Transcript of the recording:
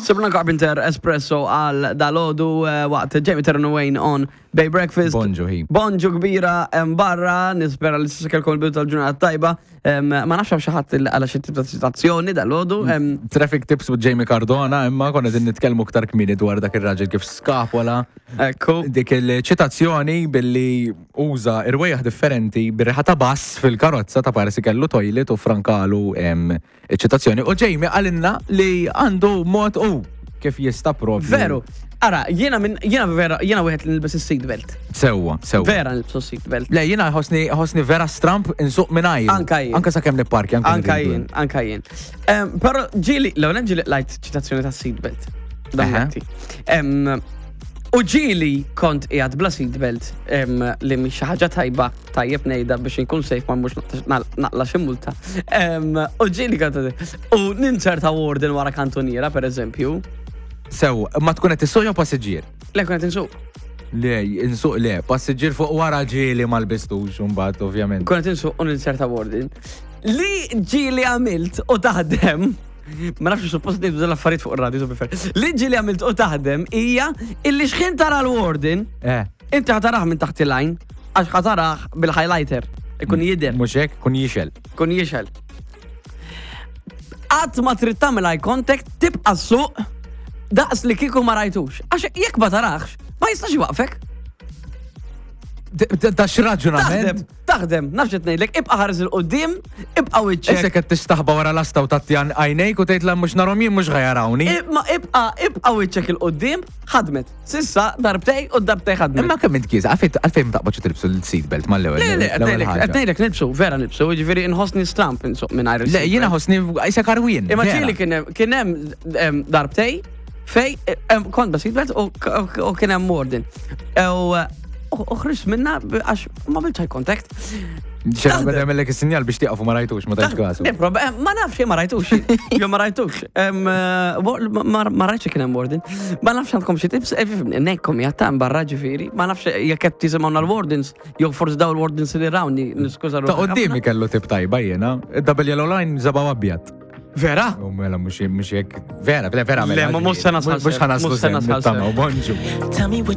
Sabrina Carpenter Espresso għal dalodu eh, waqt Jamie Terran Wayne on Bay Breakfast. Bonġu, hi. Bonġu kbira hemm barra, nispera li s'issa kellkom il-bidu tal-ġurnata tajba. Em, Ma nafx hawn xi ħadd il- għala xi tip ta' ċitazzjoni dalodu. em, Traffic tips with Jamie Cardona, imma konna din nitkellmu ktar kmieni dwar dak ir-raġel kif skapola Ekku. dik il-ċitazzjoni billi uża irwejjaħ differenti bir-riħa ta' bass fil-karozza ta' parsi kellu toilet u frankalu em, Iċ-ċitazzjoni u Jamie qalilna li għandu mod u kif jista' propju. Veru. Ara, jiena minn jiena vera, jiena wieħed li nilbes is-seatbelt. Sewwa, sewwa. Vera nilbsu s-seatbelt. Le, jiena ħossni ħossni vera stramp insuq mingħajr. Anka jien. Anka sakemm nipparki, anka Anka jien, anka jien. Però ġieli, l-ewwel ġieli lajt ċitazzjoni ta' seatbelt. Dammetti. U ġieli kont qiegħed bla seatbelt li mhix xi ħaġa tajba tajjeb ngħidha biex inkun safe ma mhux naqla xi multa. U ġieli kont u ninċerta warden wara kantuniera pereżempju. Sew, ma tkun qed issuq jew passiġġier? Le kun qed insuq. Le, insuq le, passiġġier fuq wara ġieli ma lbistux mbagħad ovvjament. Kun qed insuq u ninċerta warden. Li ġieli għamilt u taħdem Ma nafx suppost ngħidu dal-affarijiet fuq ir-radio to be fair. Li ġieli għamilt u taħdem hija illi xħin tara l-warden, eh. Inti ħa tarah minn taħt il-għajn, għax ħa tarah bil-highlighter. Ikun jidher. Mhux hekk, kun jixel. Kun jixel. Qatt ma trid tagħmel eye contact, tibqa' suq daqs li kieku ma rajtux. Għax jekk ma tarax, ma jistax iwaqfek. Da x'raġunament? Taħdem, taħdem, nafx qed ngħidlek, ibqa' ħares il qudiem ibqa' wiċċek. Issa qed tistaħba wara lasta u tagħti għajnejk u tgħid la mhux narhom jien mhux ħajarawni. Ma ibqa' ibqa' wiċċek il qudiem ħadmet. Sissa darbtej u darbtej ħadmet. Imma kemm int kieża, għalfejn ma taqbadx tilbsu l-seatbelt mal-ewwel. Le, le, qed ngħidlek nilbsu, vera nilbsu, jiġifieri nħossni stramp insuq mingħajr. Le, jiena ħossni qisek arwien. Imma ġieli kien hemm darbtej fej kont ba seatbelt u kien hemm warden. U ħriġt minna għax ma bilċ eye contact. Xena beda jagħmellek is-sinjal biex tieqaf u ma rajtux, ma tajtx kasu. Eh, ma nafx ma rajtux. Jo ma rajtux. Eh, ma rajtx kien hemm warden. Ma nafx għandkom xi tips, eh, nekkom jattan barra ġifieri. Ma nafx jekk qed tisimgħu l-wardens, jew forsi daw il-wardens li rawni, niskuża Ta' qoddimi kellu tip tajba jiena, double yellow line żaba' abjad. Vera? U mela mhux mhux hekk. Vera, vera, vera. Le, ma mhux se nasal. Mhux ħanaslu Mhux se nasal. Bonġu.